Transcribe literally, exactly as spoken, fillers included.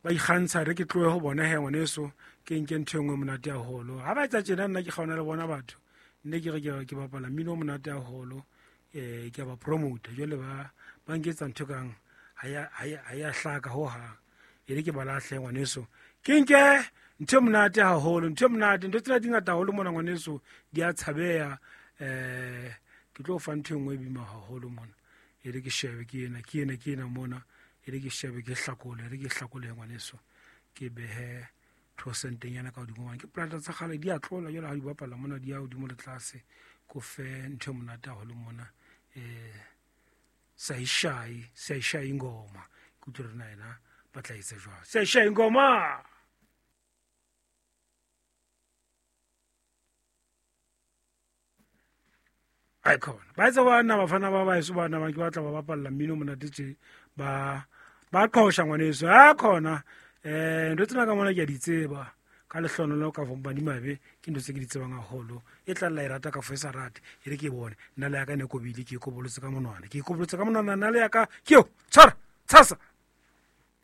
Ba ikgantsha re ke tlohe ho bona he ngwaneso, ke nke ntho e nngwe monate haholo. Ha ba etsa tjena nna ke kgaona le bona batho, nne ke re ke ke bapala mmino o monate haholo, eh ke a ba promote. Jwale ba ba nketsa ntho kang ha ya ha ya ha ya hlaka ho hang. E re ke ba lahle ngwaneso, ke nke ntho e monate haholo, ntho e monate. Ntho tsena di ngata haholo mona ngwaneso, di a tshabeha. Eh ke tlo fa ntho e nngwe e boima haholo mona. E re ke shebe ke ena, ke ena, ke ena mona. E re ke shebe ke hlakole, e re ke hlakole ngwaneso. Ke behe thosentenyana ka hodimo hobane ke plata tsa kgale di a tlola jwale ha di bapala mona, di ya hodimo le tlase. Ko fe ntho e monate haholo mona. Eh Saishai, Saishai ngoma. Ke utlwe hore na yena ba tla etsa jwang. Saishai ngoma. Ai khona. Ba etsa bana bafana ba baeso bana ba ke batla ba bapalla mmino monate tje, ba ba qosha ngwaneso. Ha khona eh ntho tsena ka mona ke a di tseba. Ka lehlohonolo ka fo madimabe ke ntho tse ke di tsebang haholo. E tla lla e rata ka fo e sa rate, e re ke bone. Nna le ya ka ne kobile, ke e kobolotse ka monwana. Ke e kobolotse ka monwana, nna le ya ka ke yo. Tshwara, tshasa.